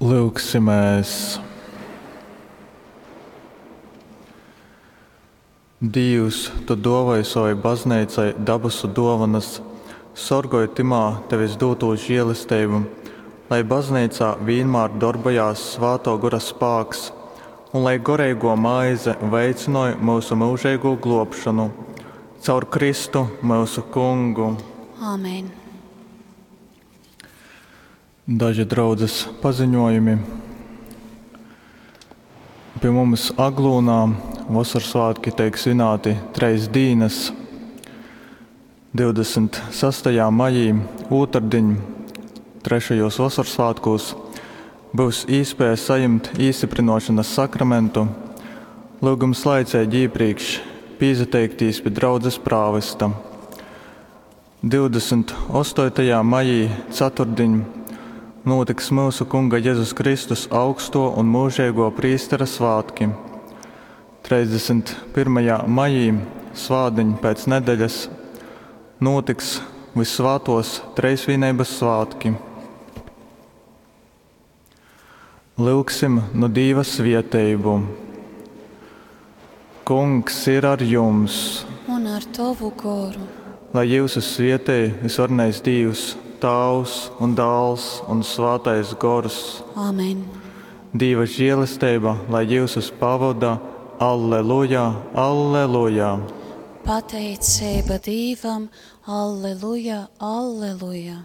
Lyugsimēs! Dīvs, Tu dōvoj sovai Bazneicai dabasu dōvonas, sorgoj tymā Tevis dūtū želesteibu, lai Bazneicā vīnmār dorbojās Svātō Gora spāks un lai goreigō maize veicynoj myusu myužeigū glōbšonu. Caur Kristu, myusu Kungu. Āmen. Daži draudzes paziņojumi. Pie mums Aglūnā Vosorsvātki teik svināti treis dīnas. 26. maijī, ūtardiņ, trešajos Vosorsvātkūs, būs īspēja sajimt īstiprinošanas sakramentu. Lūgums laicīgi iepriekš pīsateiktīs pie draudzes prāvesta. 28. maijī, ceturtdiņ, notiks mūsu Kunga Jezus Kristus augsto un mūžīgo prīstera svātki. 31. maijī, svātdiņ pēc nedēļas, notiks Vissvātos Treisvīneibas svātki. Lūgsim nu Dīva svieteibu. Kungs ir ar jums! Un ar tovu goru. Lai jūs svietej visvarenais Dīvs, Tāvs un Dāls un Svātais Gors. Āmen. Dīva žēlesteiba, lai jūs pavoda. Alleluja, alleluja! Pateicība Dīvam, alleluja, alleluja!